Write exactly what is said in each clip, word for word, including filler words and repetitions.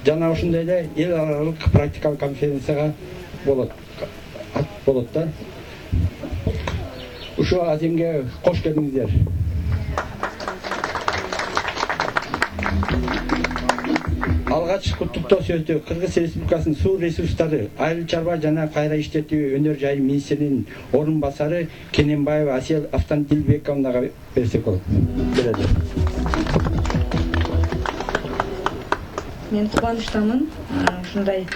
жана ушундай эле эл аралык практикалык конференцияга болот болот да. Ушул аземге кош келдиңиздер. Алгач куттуктоо сөздү Кыргыз Республикасынын суу ресурстары, айыл чарба жана кайра иштетүү өнөр жайы министринин орун басары Кененбаева Асел Автандилбековнага берсек болот. Берели. Мен кубанычтамын ушундай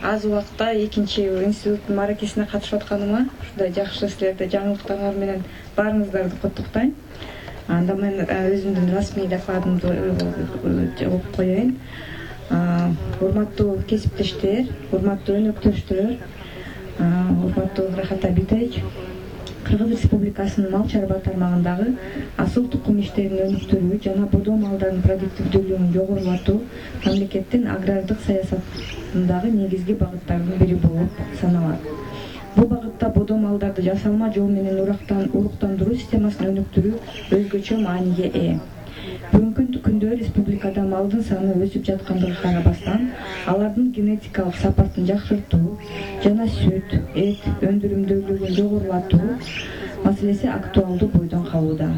аз убакытта экинчи институттун маракесине катышып атканыма. Ушундай жакшы силерди жаңылыктарыңар менен баарыңыздарды куттуктайм. Анда мен өзүмдүн расмий докладымды окуп коеюн. Урматтуу кесиптештер, урматтуу өнөктөштөр, урматтуу Рахат Абитович, Кыргыз Республикасынын мал чарба тармагындагы асыл тукум иштерин өнүктүрүү жана бодо малдардын продуктивдүүлүгүн жогорулатуу мамлекеттин агрардык саясатындагы негизги багыттардын бири болуп саналат. Бул багытта бодо малдарды жасалма жол менен уруктандыруу системасын өнүктүрүү өзгөчө мааниге ээ. Бүгүнкү күндө республикада малдын саны өсүп жаткандыгына карабастан, алардын генетикалык сапатын жакшыртуу жана сүт, эт өндүрүмдүүлүгүн жогорулатуу маселеси актуалдуу бойдон калууда.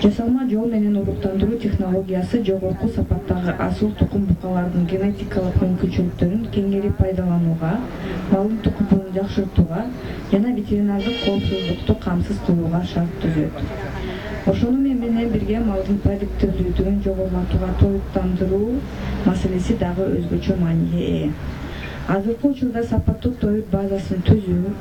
Жасалма жол менен уруктандыруу технологиясы жогорку сапаттагы асыл тукум букалардын генетикалык мүмкүнчүлүктөрүн кеңири пайдаланууга, малдын тукумун жакшыртууга жана ветеринардык коопсуздукту камсыз кылууга шарт түзөт. Ошону менен бирге малдын продуктивдүүлүгүн жогорулатууга тоюттандыруу маселеси дагы өзгөчө мааниге ээ. Азыркы учурда сапаттуу тоют базасын түзүү,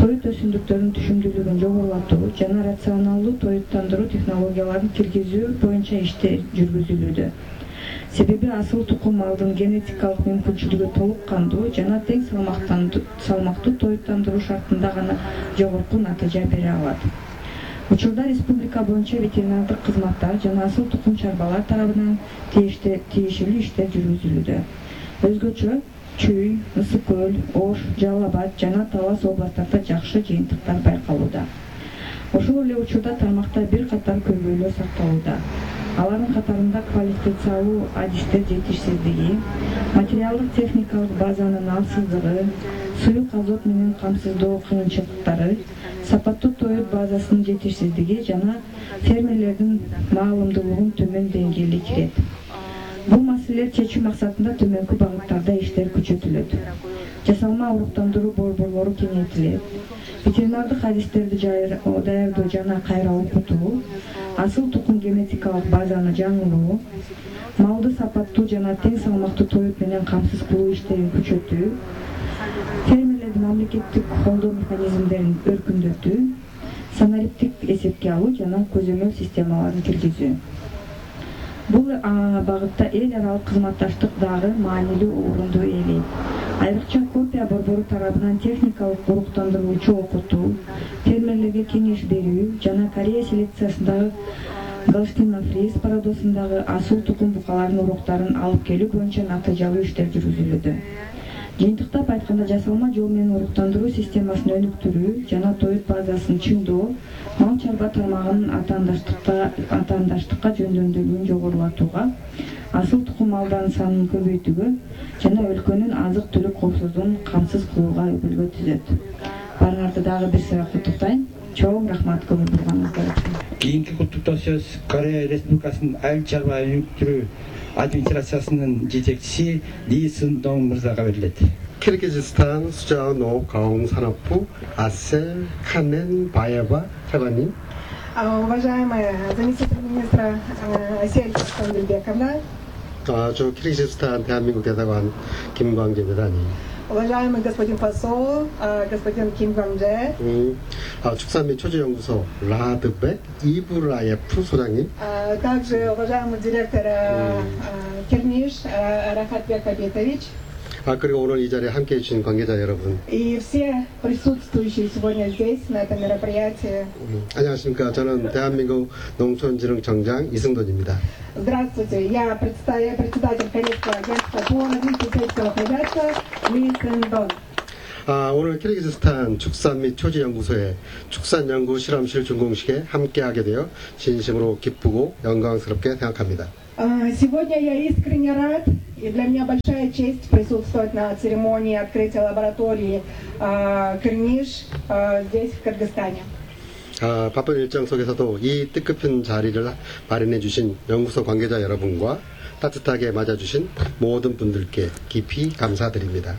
тоют өсүмдүктөрүнүн түшүмдүүлүгүн жогорулатуу жана рационалдуу тоюттандыруу технологияларын киргизүү боюнча иштер жүргүзүлүүдө. Себеби асыл тукум малдын генетикалык мүмкүнчүлүгү толук кандуу жана тең салмактуу тоюттандыруу шартында гана жогорку натыйжа бере алат. Учурда республика боюнча ветеринардык кызматтар жана асыл тукум чарбалар тарабынан тиешелүү иштер жүргүзүлүүдө. Өзгөчө Чүй, Ысык көл, Ош, Жалал Абад жана Талас областтарда жакшы жыйынтыктар байкалууда. Ошол эле учурда тармакта бир катар көйгөйлөр сакталууда. Алардын катарында квалификациялуу адистер жетишсиздиги, материалдык техникалык базанын алсыздыгы, суюк азот менен камсыздоо кыйынчылыктары, сапаттуу тоют базасынын жетишсиздиги жана фермерлердин маалымдуулугун төмөн деңгээлде кирет. Бул маселелер чечүү максатында төмөнкү багыттарда иштер күчөтүлөт. Жасалма уруктандыруу борборлору кеңейтилет. Ветеринардык адистерди даярдоо жана кайра окутуу, асыл тукум генетикалык базаны жаңылоо, малды сапаттуу жана тең салмактуу тоют менен камсыз кылуу иштерин күчөтүү, фермерлердин мамлекеттик колдоо механизмдерин өркүндөтүү, санариптик эсепке алуу жана көзөмөл системаларын киргизүү. Бул багытта эл аралык кызматташтык дагы маанилүү орунду ээлейт. Айрыкча Копия борбору тарабынан техникалык уруктандыруучу окутуу, фермерлерге кеңеш берүү жана Корея селекциясындагы Галштин-Фриз пародосундагы асыл тукум букалардын уруктарын алып келүү боюнча натыйжалуу иштер жүргүзүлүүдө. Жыйынтыктап айтканда, жасалма жол менен уруктандыруу системасын өнүктүрүү жана тоют базасын чыңдоо мал чарба тармагынын атаандаштыкка жөндөмдүүлүгүн жогорулатууга, асыл тукум малдардын санын көбөйтүүгө жана өлкөнүн азык-түлүк коопсуздугун камсыз кылууга өкүлгө түзөт. Баарыңарды дагы бир сыйра куттуктайм. Чоң рахмат көңүл бурганыңыздар үчүн. Кийинки куттуктоо сөз Корея Республикасынын айыл чарба өнүктүрүү администрациясынын жетекчиси Ли Сындong мырзага берилет. Кыргызстан Сужао-Нов-Каум-Санапбу Асел Каненбаева 차관님. Уважаемая заместитель министра Асель Автандилбековна. 저 키르기즈스탄 대한민국 대사관 김광재 대사님. Уважаемый господин посол, господин Ким Гванже. 축산 및 초지연구소 라드백 이브라예프 소장님. Также уважаемый директор Керниш Рахатбек Абитович. 아 그리고 오늘 이 자리에 함께해 주신 관계자 여러분. И все присутствующие сегодня здесь на этом мероприятии. 안녕하십니까? 저는 대한민국 농촌진흥청장 이승돈입니다. Здравствуйте, я председатель Корейского агентства по развитию сельского хозяйства Ли Сэндон. 아, 오늘 키르기즈스탄 축산 및 초지연구소의 축산연구 실험실 준공식에 함께하게 되어 진심으로 기쁘고 영광스럽게 생각합니다. А, Сегодня я искренне рад, и для меня большая честь присутствовать на церемонии открытия лаборатории а, Кырниш а, здесь, в Кыргызстане. 아, 바쁜 일정 속에서도 이 뜻깊은 자리를 마련해 주신 연구소 관계자 여러분과 따뜻하게 맞아주신 모든 분들께 깊이 감사드립니다.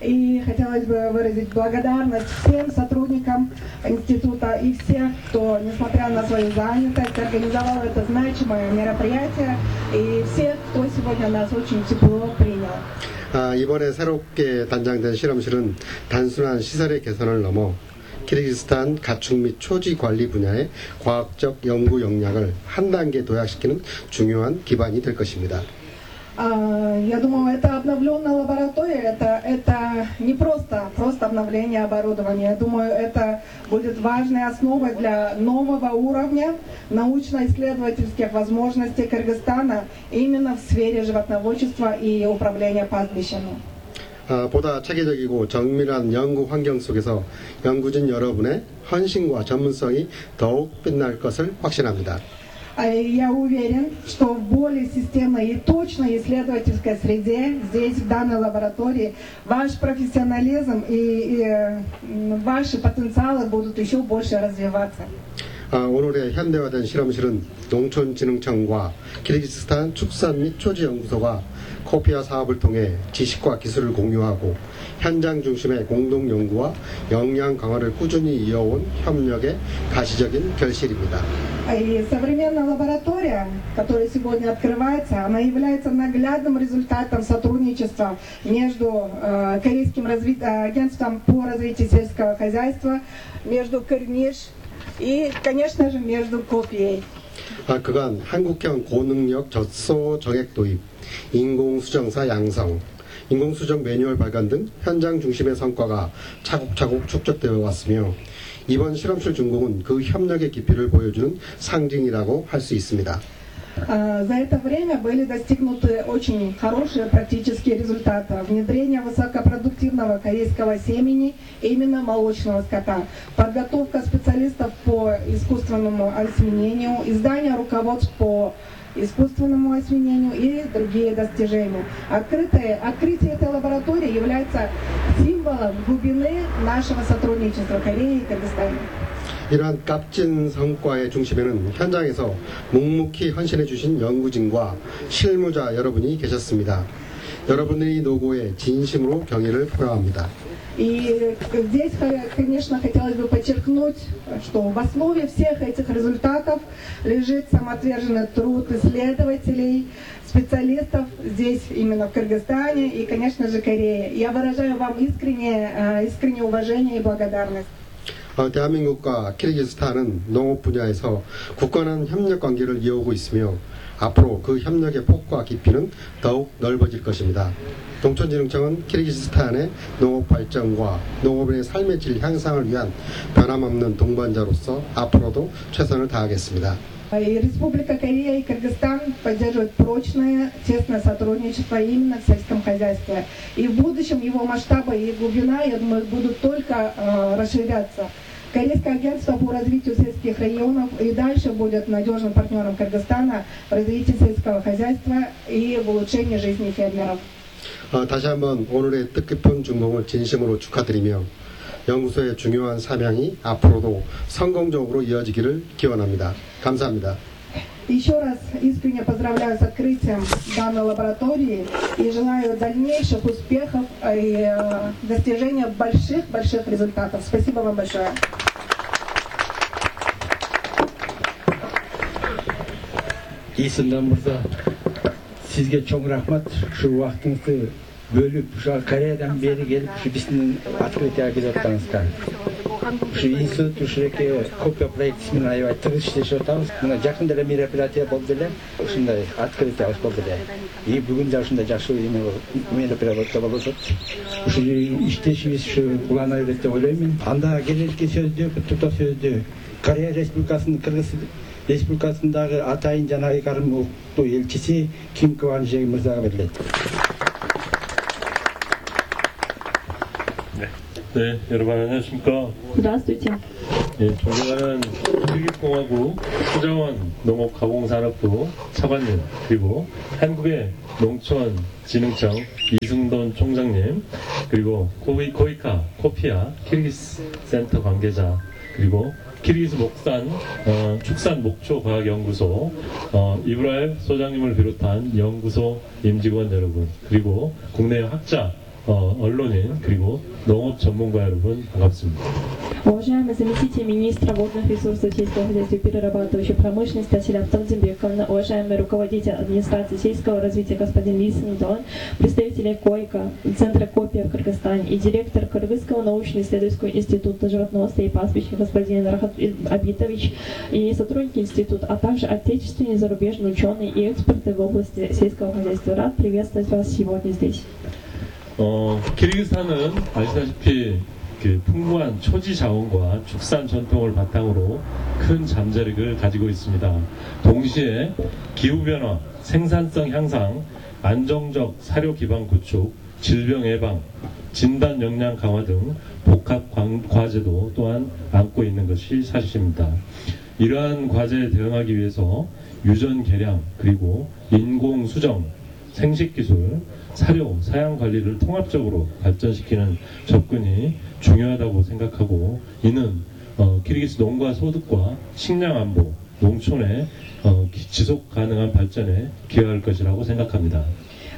И хотелось бы выразить благодарность всем сотрудникам института и всех, кто, несмотря на свою занятость, организовал это значимое мероприятие, и всех, кто сегодня нас очень тепло принял. 아, 이번에 새롭게 단장된 실험실은 단순한 시설의 개선을 넘어 키르기스탄 가축 및 초지 관리 분야의 과학적 연구 역량을 한 단계 도약시키는 중요한 기반이 될 것입니다. Я думаю, это обновленная лаборатория, это, это не просто, просто обновление оборудования. Я думаю, это будет важной основой для нового уровня научно-исследовательских возможностей Кыргызстана именно в сфере животноводчества и управления пастбищами. 아, 보다 체계적이고 정밀한 연구 환경 속에서 연구진 여러분의 헌신과 전문성이 더욱 빛날 것을 확신합니다. Я уверен, что в более системной и точной исследовательской среде, здесь, в данной лаборатории, ваш профессионализм и, и ваши потенциалы будут еще больше развиваться. 아, 오늘의 현대화된 실험실은 농촌진흥청과 키르기스탄 축산 및 초지연구소가 코피아 사업을 통해 지식과 기술을 공유하고 현장 중심의 공동 연구와 역량 강화를 꾸준히 이어온 협력의 가시적인 결실입니다. И современная лаборатория, которая сегодня открывается, она является наглядным результатом сотрудничества между э, Корейским разви... агентством по развитию сельского хозяйства, между Кырниш и, конечно же, между Копией. 아, 그간 한국형 고능력 젖소 정액 도입, 인공수정사 양성, 인공수정 매뉴얼 발간 등 현장 중심의 성과가 차곡차곡 축적되어 왔으며 이번 실험실 준공은 그 협력의 깊이를 보여주는 상징이라고 할 수 있습니다. За это время были достигнуты очень хорошие практические результаты. Внедрение высокопродуктивного корейского семени, именно молочного скота, подготовка специалистов по искусственному осеменению, издание руководств по искусственному осеменению и другие достижения. Открытие, открытие этой лаборатории является символом глубины нашего сотрудничества Кореи и Кыргызстана. 이러한 값진 성과의 중심에는 현장에서 묵묵히 헌신해 주신 연구진과 실무자 여러분이 계셨습니다. 여러분의 노고에 진심으로 경의를 표합니다. И здесь, конечно, хотелось бы подчеркнуть, что в основе всех этих результатов лежит самоотверженный труд исследователей, специалистов здесь, именно в Кыргызстане и, конечно же, Корее. Я выражаю вам искреннее, искреннее уважение и благодарность. 어, 대한민국과 키르기스탄은 농업 분야에서 굳건한 협력 관계를 이어오고 있으며 앞으로 그 협력의 폭과 깊이는 더욱 넓어질 것입니다. 농촌진흥청은 키르기스탄의 농업 발전과 농업인의 삶의 질 향상을 위한 변함없는 동반자로서 앞으로도 최선을 다하겠습니다. И Республика Корея и Кыргызстан поддерживают прочное, тесное сотрудничество именно в сельском хозяйстве. И в будущем его масштабы и глубина, я думаю, будут только э, расширяться. Корейское агентство по развитию сельских районов и дальше будет надежным партнером Кыргызстана в развитии сельского хозяйства и в улучшении жизни фермеров. 어, 다시 한번 오늘의 뜻깊은 준공을 진심으로 축하드리며 연구소의 중요한 사명이 앞으로도 성공적으로 이어지기를 기원합니다. 감사합니다. Еще раз искренне поздравляю с открытием данной лаборатории и желаю дальнейших успехов и э, достижения больших-больших результатов. Спасибо вам большое. Исындан мырза, сизге чоң рахмат. Ушу убактыңызды бөлүп, ушу Кореядан бери келип, ушу биздин открытияга келип атканыңызга. Ушу институт ушуреке копия проекти менен аябай тыгыз иштешип атабыз. Мына жакында эле мероприятие болду эле, ушундай открытие болду эле. И бүгүн да ушундай жакшы мероприятие болуп атат. Ушу иштешибиз ушу улана берет деп ойлоймун. Анда келерки сөздү, куттуктоо сөздү Корея Республикасынын Кыргыз Республикасындагы атайын жана Карым улуттуу элчиси Ким Кванжи мырзага берилет. 네, 여러분 안녕하십니까? Здравствуйте. 예, 존경하는 kirgiz공화국 수자원 농업가공산업부 차관님, 그리고 한국의 농촌진흥청 이승돈 총장님, 그리고 고이, 고이카 코피아 키르기스 센터 관계자, 그리고 키르기스 목산 어, 축산목초과학연구소 어, 이브라일 소장님을 비롯한 연구소 임직원 여러분, 그리고 국내 학자, 어, 언론인, 그리고 농업 전문가 여러분, 반갑습니다. Уважаемый заместитель министра водных ресурсов сельского хозяйства и перерабатывающей промышленности Асиль Автандильбековна, уважаемый руководитель администрации сельского развития господин Ли Сындон, представители КОИКа, Центра Копия в Кыргызстане и директор Кыргызского научно-исследовательского института животноводства и пастбища господин Рахат Абитович и сотрудники института, а также отечественные и зарубежные ученые и эксперты в области сельского хозяйства. Рад приветствовать вас сегодня здесь. 어, 키르기스탄은 아시다시피 그 풍부한 초지 자원과 축산 전통을 바탕으로 큰 잠재력을 가지고 있습니다. 동시에 기후변화, 생산성 향상, 안정적 사료 기반 구축, 질병 예방, 진단 역량 강화 등 복합 과제도 또한 안고 있는 것이 사실입니다. 이러한 과제에 대응하기 위해서 유전 개량, 그리고 인공 수정, 생식기술, 사료, 사양 관리를 통합적으로 발전시키는 접근이 중요하다고 생각하고, 이는 어, 키르기스 농가 소득과 식량 안보, 농촌의 어, 지속 가능한 발전에 기여할 것이라고 생각합니다.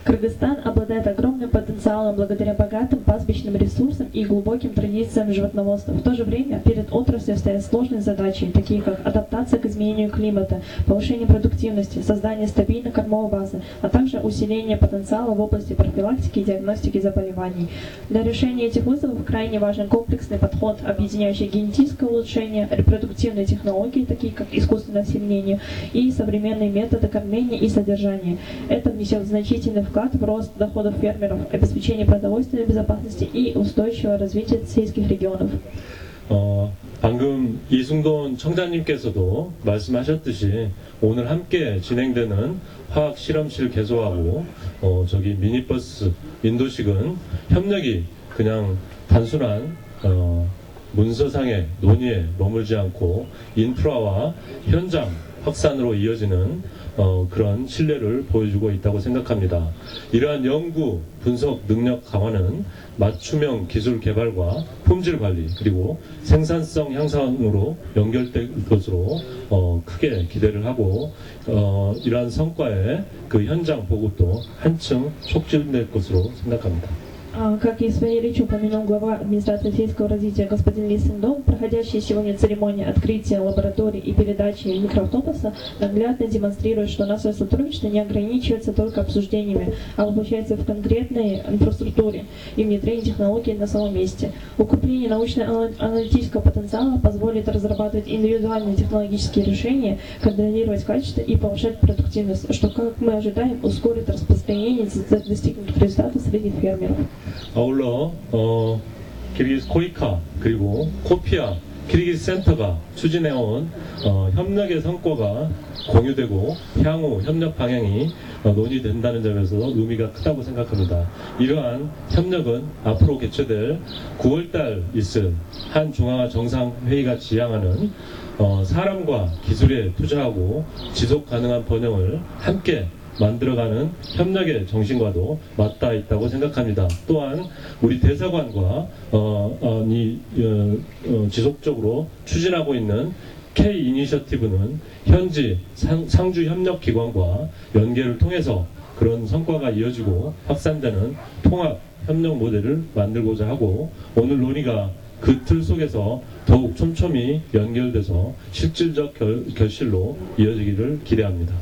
Кыргызстан обладает огромным потенциалом благодаря богатым пастбищным ресурсам и глубоким традициям животноводства. В то же время перед отраслью стоят сложные задачи, такие как адаптация к изменению климата, повышение продуктивности, создание стабильной кормовой базы, а также усиление потенциала в области профилактики и диагностики заболеваний. Для решения этих вызовов крайне важен комплексный подход, объединяющий генетическое улучшение, репродуктивные технологии, такие как искусственное осеменение, и современные методы кормления и содержания. Это внесет значительный вклад в рост доходов фермеров, обеспечение продовольственной безопасности и устойчивого развития сельских регионов. 어, 방금 이승돈 청장님께서도 말씀하셨듯이 오늘 함께 진행되는 화학 실험실 개소하고 어, 저기 미니버스 인도식은 협력이 그냥 단순한 어, 문서상의 논의에 머물지 않고 인프라와 현장 확산으로 이어지는 어, 그런 신뢰를 보여주고 있다고 생각합니다. 이러한 연구, 분석 능력 강화는 맞춤형 기술 개발과 품질 관리, 그리고 생산성 향상으로 연결될 것으로 어, 크게 기대를 하고, 어, 이러한 성과의 그 현장 보급도 한층 촉진될 것으로 생각합니다. Как и в своей речи упомянул глава администрации сельского развития господин Ли Сындон, проходящая сегодня церемония открытия лабораторий и передачи микроавтобуса наглядно демонстрирует, что наше сотрудничество не ограничивается только обсуждениями, а воплощается в конкретной инфраструктуре и внедрении технологий на самом месте. Укрепление научно-аналитического потенциала позволит разрабатывать индивидуальные технологические решения, контролировать качество и повышать продуктивность, что, как мы ожидаем, ускорит распространение достигнутых результатов среди фермеров. 아울러 어, 키르기스 코이카 그리고 코피아 키르기스 센터가 추진해온 어, 협력의 성과가 공유되고 향후 협력 방향이 어, 논의된다는 점에서 의미가 크다고 생각합니다. 이러한 협력은 앞으로 개최될 구월달 있을 한 중앙화 정상회의가 지향하는 어, 사람과 기술에 투자하고 지속 가능한 번영을 함께 만들어가는 협력의 정신과도 맞닿아 있다고 생각합니다. 또한 우리 대사관과 어, 어, 이, 어, 어, 지속적으로 추진하고 있는 K 이니셔티브는 현지 상, 상주 협력기관과 연계를 통해서 그런 성과가 이어지고 확산되는 통합 협력 모델을 만들고자 하고, 오늘 논의가 그 틀 속에서 더욱 촘촘히 연결돼서 실질적 결, 결실로 이어지기를 기대합니다.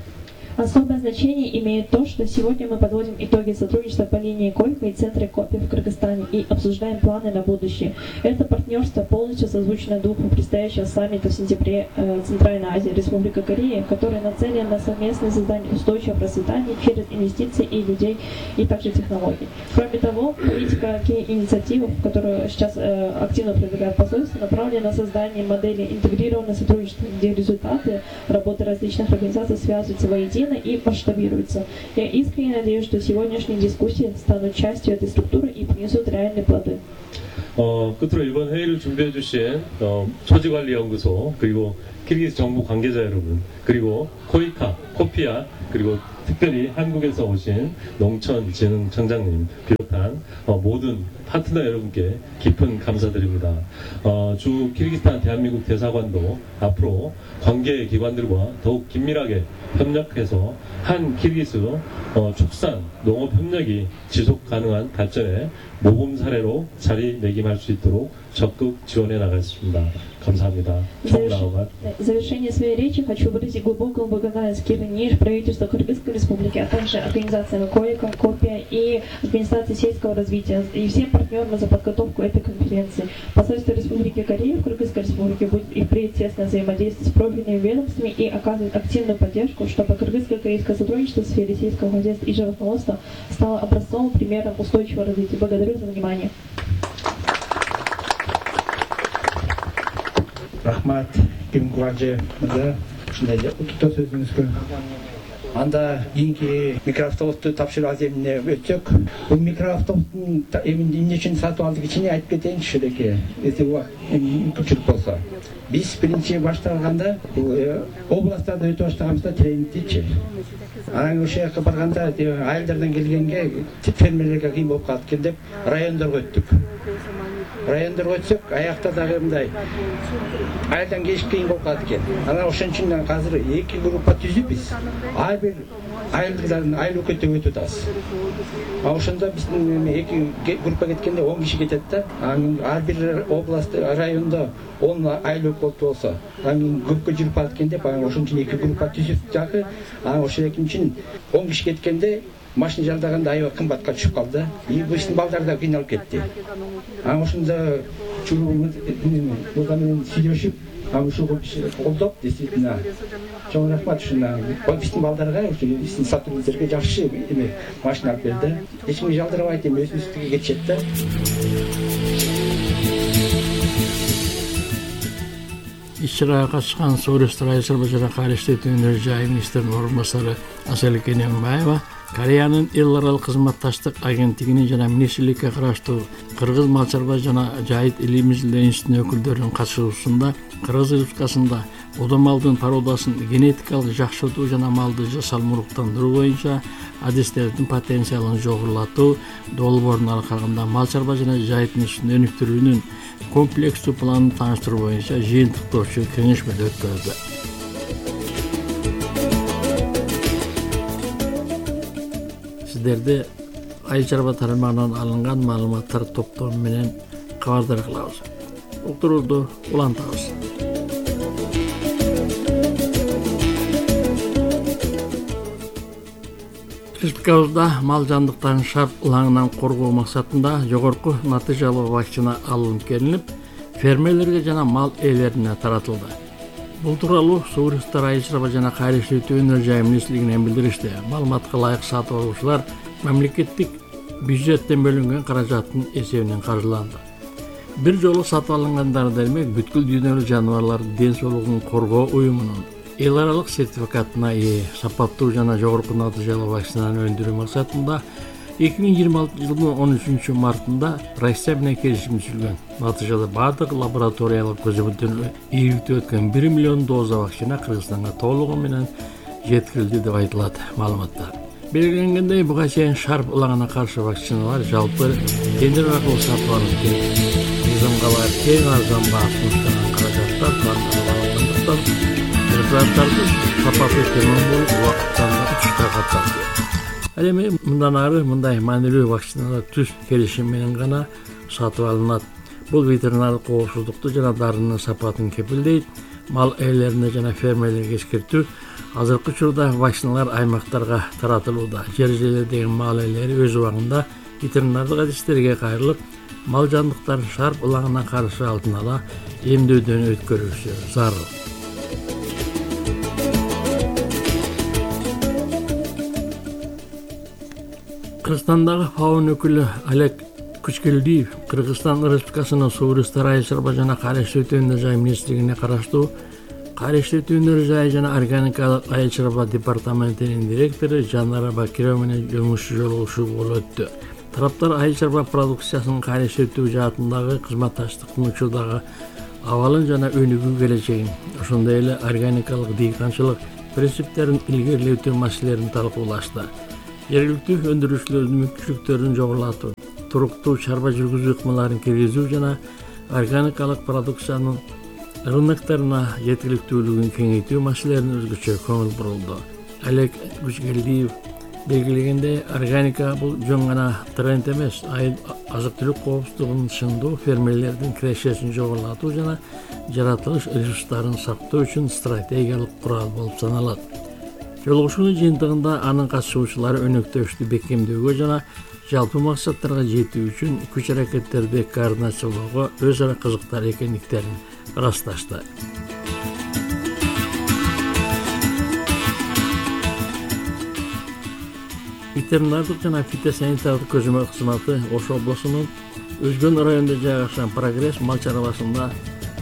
Особое значение имеет то, что сегодня мы подводим итоги сотрудничества по линии Койка и Центре Копи в Кыргызстане и обсуждаем планы на будущее. Это партнерство полностью созвучно духу предстоящего саммита в сентябре э, Центральной Азии, Республика Корея, который нацелен на совместное создание устойчивого процветания через инвестиции и людей, и также технологий. Кроме того, политика инициатив, которую сейчас э, активно продвигает посольство, направлена на создание модели интегрированного сотрудничества, где результаты работы различных организаций связываются воедино и масштабируется. Я искренне надеюсь, что сегодняшние дискуссии станут частью этой структуры и принесут реальные плоды. 어, 끝으로 이번 회의를 준비해 주신 어, 초지관리연구소 그리고 키르기스 정부 관계자 여러분 그리고 코이카, 코피아 그리고 특별히 한국에서 오신 농촌진흥청장님 비롯한 어, 모든 파트너 여러분께 깊은 감사드립니다. 어, 주 키르기스탄 대한민국 대사관도 앞으로 관계 기관들과 더욱 긴밀하게 협력해서 한 키르기스 어, 축산 농업 협력이 지속 가능한 발전에 모범 사례로 자리매김할 수 있도록 적극 지원해 нага겠습니다. 감사합니다. 총나오가. В завершение своей речи хочу выразить глубокую благодарность Кирниш, правительству Кыргызской Республики, а также организациям КОИКа, Копия и Администрации сельского развития и всем партнерам за подготовку этой конференции. Посольство Республики Корея в Кыргызской Республике будет и впредь тесно взаимодействовать с профильными ведомствами и оказывать активную поддержку, чтобы кыргызско-корейское сотрудничество в сфере сельского хозяйства и животноводства стало образцовым примером устойчивого развития. Благодарю за внимание. Рахмат, Кимгваджи, мырза, ушундай утуктоо сөзүңүзгө. Анда кийинки микроавтобусту тапшыруу аземине өтсөк, бул микроавтобустун эмне үчүн сатып алдык ичине айтып кетейинчи элеке, эсеби мүмкүнчүлүк болсо. Биз биринчи баштаганда областтарда өтө баштаганбызда тренингдичи. Анан ошол жака барганда айылдардан келгенге фермерлерге кыйын болуп калат экен деп райондорго өттүк. Райондорго өтсөк, аякта дагы мындай айылдан келиш кыйын болуп калат экен. Анан ошон үчүн азыр эки группа түзүп биз ар бир айылдардын айыл өкмөтүнө өтүп атабыз. Ошондо биздин эки группа кеткенде он киши кетет да. Анан ар бир област райондо он айыл өкмөт болсо, анан көпкө жүрүп барат экен деп, ошон үчүн эки группа түзүп жагы, анан ошол үчүн он киши кеткенде машина жалдаганда аябай кымбатка түшүп калды. И биздин балдар да кыйналып кетти. Анан ошондо чулуумуз мурда менен сүйлөшүп, анан ушул колдоп, действительно, чоң рахмат ушуна. Биздин балдарга, ушу биздин сотрудниктерге жакшы эме машина алып берди. Эч кимге жалдырабайт эми өзүбүздүгө кетишет да. Иш-чарага катышкан Сооронбай Айсарбажана кайрылыштуу өнөр жай министринин орун басары Асель Кененбаева Кореянын эл аралык кызматташтык агенттигинин жана министрликке караштуу Кыргыз мал чарба жана жайыт илимий изилдөө институтунун өкүлдөрүнүн катышуусунда Кыргыз Республикасында удо малдын породасын генетикалык жакшыртуу жана малды салмуруктандыруу боюнча адистердин потенциалын жогорулатуу долбоорун аркагында мал чарба жана жайыт институтун өнүктүрүүнүн комплекстүү планын тааныштыруу боюнча жыйынтыктоочу кеңешмеде өткөрүлдү. Сиздерди айыл чарба тармагынан алынган маалыматтар топтому менен кабардар кылабыз. Уктурууда улантабыз. Республикабызда мал жандыктарын шарп ылаңынан коргоо максатында жогорку натыйжалуу вакцина алынып келинип, фермерлерге жана мал ээлерине таратылды. Бул тууралуу Сооронбай айыл чарба жана кайрылыштуу өнөр жай министрлигинен билдиришти. Маалыматка ылайык сатып алуучулар мамлекеттик бюджеттен бөлүнгөн каражаттын эсебинен каржыланды. Бир жолу сатып алынгандар демек бүткүл дүйнөлүк жаныбарлардын ден соолугун коргоо уюмунун эл аралык сертификатына ээ сапаттуу жана жогорку натыйжалуу вакцинаны өндүрүү максатында эки миң жыйырма алтынчы жылдын он үчүнчү мартында Россия менен келишим түзүлгөн. Натыйжада бардык лабораториялык көзөмөлдөрдөн ийгиликтүү өткөн бир миллион доза вакцина Кыргызстанга толугу менен жеткирилди деп айтылат маалыматта. Белгиленгендей, буга чейин шарп ылаңына каршы вакциналар жалпы тендер аркылуу сатып алынып келди. Мыйзамга кең арзан баасынын каражаттар тартылгандыктан препараттарды сапасы төмөн болуп убакыттан учушка катталды. Ал эми мындан ары мындай маанилүү вакциналар түз келишим менен гана сатып алынат. Бул ветеринарлык коопсуздукту жана дарынын сапатын кепилдейт. Мал ээлерине жана фермерлерге эскертүү. Азыркы учурда вакциналар аймактарга таратылууда. Жер жерлердеги мал ээлери өз убагында ветеринардык адистерге кайрылып, мал жандыктарын шарп ылаңына каршы алдын ала эмдөөдөн өткөрүлүшү зарыл. Кыргызстандагы фаун өкүлү Олег Кучкелдиев Кыргызстан Республикасынын Сооронбай айыл чарба жана кайрылыштуу өнөр жай министрлигине караштуу кайрылыштуу өнөр жай жана органикалык айыл чарба департаментинин директору Жанара Бакирова менен жумуш жолугушуу болуп өттү. Тараптар айыл чарба продукциясынын кайрылыштыруу жаатындагы кызматташтыктын учурдагы абалын жана өнүгүү келечегин, ошондой эле органикалык дыйканчылык принциптерин илгерилетүү маселелерин талкуулашты. Жергиликтүү өндүрүүчүлөрдүн мүмкүнчүлүктөрүн жогорулатуу, туруктуу чарба жүргүзүү ыкмаларын киргизүү жана органикалык продукциянын рыноктарына жеткиликтүүлүгүн кеңейтүү маселелерине өзгөчө көңүл бурулду. Алек Күчгелдиев белгилегендей, органика бул жөн гана тренд эмес, айыл азык-түлүк коопсуздугун чыңдоо, фермерлердин кирешесин жогорулатуу жана жаратылыш ресурстарын сактоо үчүн стратегиялык курал болуп саналат. Жолугушуунун жыйынтыгында анын катышуучулары өнөктөштү бекемдөөгө жана жалпы максаттарга жетүү үчүн күч-аракеттерди координациялоого өз ара кызыктар экендиктерин ырасташты. Ветеринардык жана фитосанитардык көзөмөл кызматы Ош облусунун Өзгөн районунда жайгашкан Прогресс мал чарбасында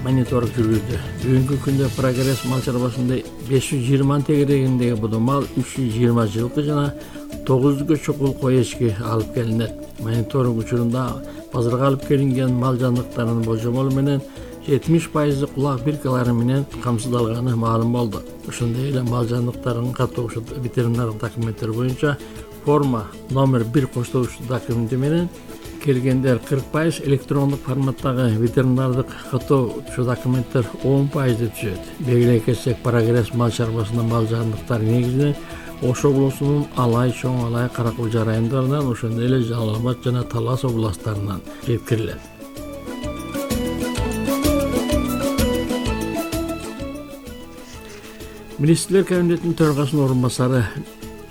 мониторинг жүргүздү. Бүгүнкү күндө Прогресс мал чарбасында беш жүз жыйырма тегерегиндеги будо мал, үч жүз жыйырма жылкы жана тогуз жүзгө чукул кой эчки алып келинет. Мониторинг учурунда базарга алып келинген мал жандыктарынын болжомолу менен жетимиш пайызы кулак биркалары менен камсыздалганы маалым болду. Ошондой эле мал жандыктарынын каттоочу ветеринардык документтер боюнча форма номер бир коштолуучу документи менен келгендер кырк пайыз, электрондук форматтагы ветеринардык каттоочу документтер он пайызды түзөт. Белгилей кетсек, Прогресс мал чарбасында мал жандыктары негизинен Ош облусунун Алай, Чоң Алай, Каракулжа райондарынан, ошондой эле Жалал Абад жана Талас областтарынан жеткирилет. Министрлер кабинетинин төрагасынын орун басары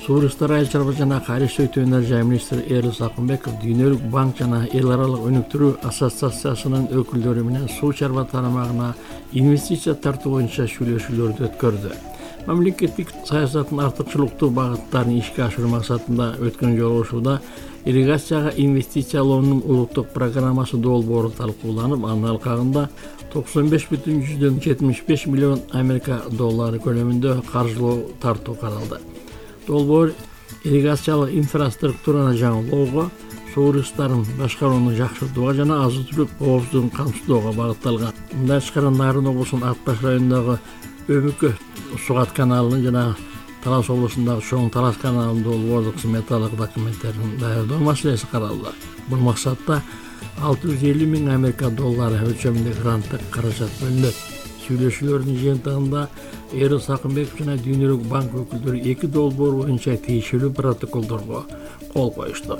Суу ресурстары айыл чарба жана кайрылыштыруу өнөр-жай министри Эрил Сакынбеков Дүйнөлүк банк жана эл аралык өнүктүрүү ассоциациясынын өкүлдөрү менен суу чарба тарамагына инвестиция тартуу боюнча сүйлөшүүлөрдү өткөрдү. Мамлекеттик саясаттын артыкчылыктуу багыттарын ишке ашыруу максатында өткөн жолугушууда ирригацияга инвестициялоонун улуттук программасы долбоору талкууланып, анын алкагында токсон беш бүтүн жүздөн жетимиш беш миллион Америка доллары көлөмүндө каржылоо тартуу каралды. Долбоор ирригациялык инфраструктураны жаңылоого, суу ресурстарын башкарууну жакшыртууга жана азык-түлүк коопсуздугун камсыздоого багытталган. Мындай чыккан Нарын облусунун Ат-Баш районундагы Өмүкө Сугат каналынын жана Талас облусундагы Чоң Талас каналынын долбоорлук сметалык документтерин даярдоо маселеси каралды. Бул максатта алты жүз элүү миң Америка доллары өлчөмүндө гранттык каражат бөлүнөт. Сүйлөшүүлөрдүн жыйынтыгында Эрил Сакынбеков жана Дүйнөлүк банк өкүлдөрү эки долбоор боюнча тиешелүү протоколдорго кол коюшту.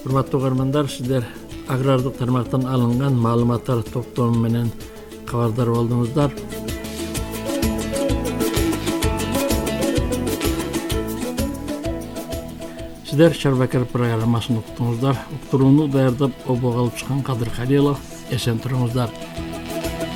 Урматтуу угармандар, сиздер агрардык тармактан алынган маалыматтар топтому менен кабардар болдуңуздар. Сиздер Чарбакер программасын уктуңуздар. Уктурууну даярдап обого алып чыккан Кадыр Халилов. Эсен туруңуздар.